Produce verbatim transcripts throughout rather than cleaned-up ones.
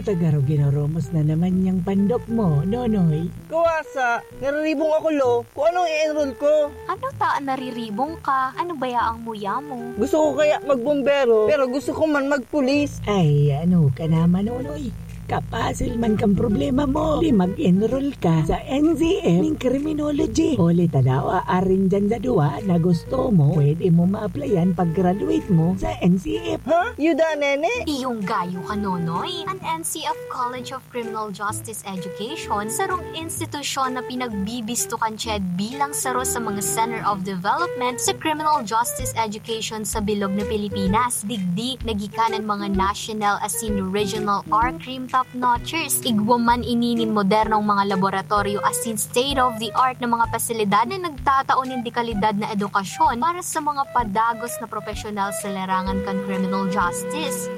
Tagarog ginoromos na naman niyang pandok mo, Nonoy. Kawasa, nariribong ako, lo. Kung anong i-enroll ko? Ano ta an nariribong ka? Ano baya ang muya mo? Gusto ko kaya magbombero, pero gusto ko man magpulis. Ay, ano ka naman, Nonoy? Kapasil man kang problema mo. Di mag-enroll ka sa N C F ning criminology. Huli ta daw, aarin dyan sa duwa na gusto mo, pwede mo ma-applyan pag-graduate mo sa N C F. Ha? Yuda, nene? Iyong gayo ka, Nonoy. An N C F College of Criminal Justice Education, sarong institusyon na pinagbibisto kan CHED bilang saro sa mga Center of Development sa Criminal Justice Education sa bilog na Pilipinas. Digdi, nagikan an mga national asin regional R-Crim top-notchers. Igwa man ini nin modernong mga laboratoryo asin state-of-the-art na mga pasilidad na nagtatao nin dekalidad na edukasyon para sa mga padagos na propesyonal sa larangan kan criminal justice.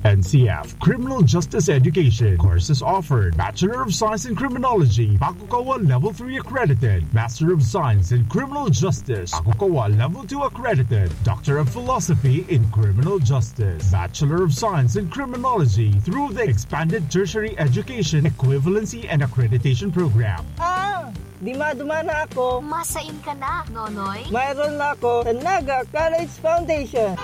N C F Criminal Justice Education. Courses offered: Bachelor of Science in Criminology, Bakukawa Level three accredited; Master of Science in Criminal Justice, Bakukawa Level two accredited; Doctor of Philosophy in Criminal Justice, Bachelor of Science in Criminology through the Expanded Tertiary Education Equivalency and Accreditation Program. Ah! Di madumana ako. Masain ka na, Nonoy? Mayroon na ako sa Naga College Foundation.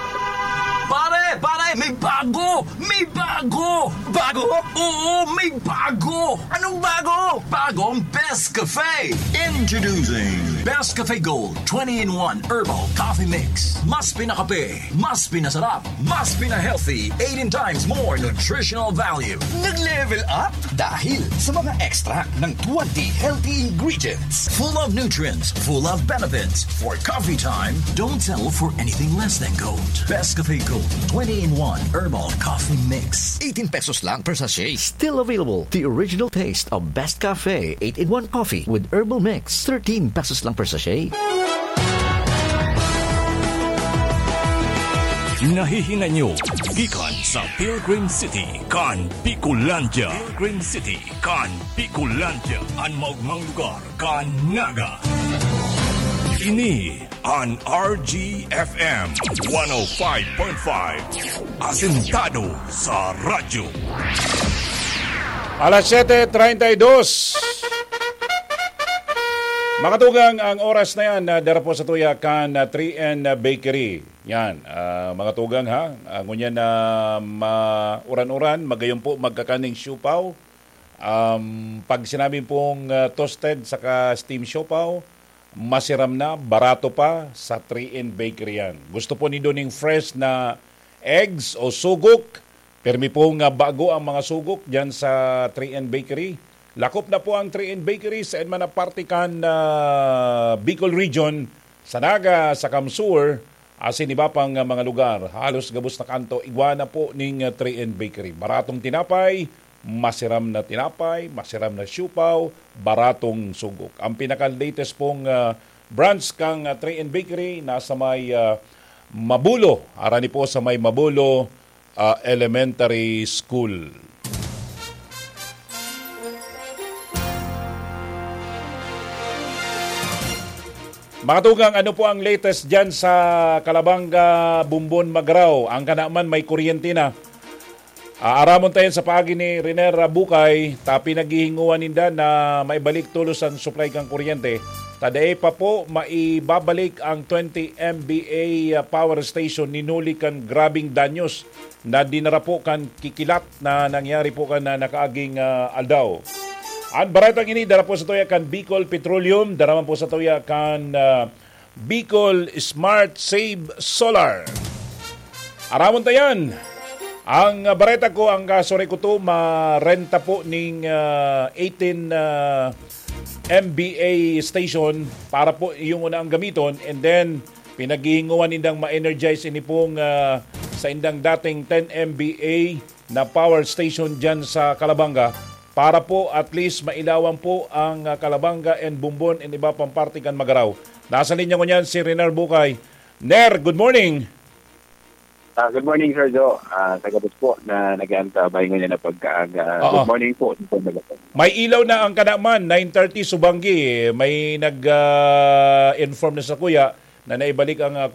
Pare! Pare! May bago! May bago! Bago? Oo, may bago! Anong bago? Bagong Best Cafe! Introducing Best Cafe Gold twenty-in-one Herbal Coffee Mix. Mas pinakape, mas pinasarap, mas pina-healthy, eighteen times more nutritional value. Nag-level up dahil sa mga extract ng twenty healthy ingredients. Full of nutrients, full of benefits. For coffee time, don't settle for anything less than gold. Best Cafe Gold twenty-in-one Herbal Coffee Mix. Eighteen pesos lang per sachet. Still available, the original taste of Best Cafe eight-in-one Coffee with Herbal Mix. Thirteen pesos lang per sachet. Nahihinay nyo gikan sa Pilgrim City kan Bicolandia. Pilgrim City kan Bicolandia, an maogmang lugar kan Naga. Ini an R G F M one oh five point five, asentado sa radyo. Alas siyete treinta y dos. Makatugang ang oras na yan, ah, dara po sa tuya kan, ah, three N Bakery. Yan, ah, mga tugang ha. Ah, ngunyan na ma-uran-uran, magayon po magkakaning siupaw. Um, pag sinabi pong, ah, toasted saka steam siupaw, masiram na, barato pa sa three N Bakery yan. Gusto po nindo ning fresh na eggs o sugok? Pirmi pong, ah, bago ang mga sugok dyan sa three N Bakery. Lakop na po ang three N Bakery sa man na parte kan, ah, Bicol Region, sa Naga, sa CamSur, asin iba pang, ah, mga lugar. Halos gabos na kanto, igwa na po ning, ah, three N Bakery. Baratong tinapay, masiram na tinapay, masiram na siupaw, baratong sugok. Ang pinaka-latest pong, ah, branch kang, ah, three N Bakery nasa may, ah, Mabulo. Arani po sa may Mabulo, ah, Elementary School. Mga tugang, ano po ang latest dyan sa Calabanga, Bombon, Magarao? Ang kanaman may kuryente na. Ah, aramon tayo sa paagi ni Riner Bukay, ta pinaghihinguan ninda na maibalik tolos ang supply kan kuryente. Ta dai pa po maibabalik ang twenty M V A, ah, power station ni huli kan grabing danyos na dinara po kan kikilat na nangyari po kan, ah, nakaaging, ah, aldaw. Ang baretang ini dara po sa tuya kan Bicol Petroleum, dara man po sa tuya kan, ah, Bicol Smart Save Solar. Aramon ta yan. Ang, ah, bareta ko, ang, ah, sore ko to, marenta po ning, ah, eighteen, ah, M V A station para po yung una ang gamiton, and then pinaghihinguan nindang ma-energize ini pong, ah, sa indang dating ten M V A na power station dyan sa Calabanga para po at least mailawan po ang, ah, Calabanga and Bombon and iba pang parte kan Magarao. Nasa linya ngunyan si Renar Bukay. Ner, good morning. Ah, good morning, Sir Joe. Ah, sa gabos po na nag-aantabay ngayon na pagkaaga. Oo. Good morning po. May ilaw na ang kanaman, nine thirty, Subanggi. May nag, ah, inform na sa kuya na naibalik ang, ah,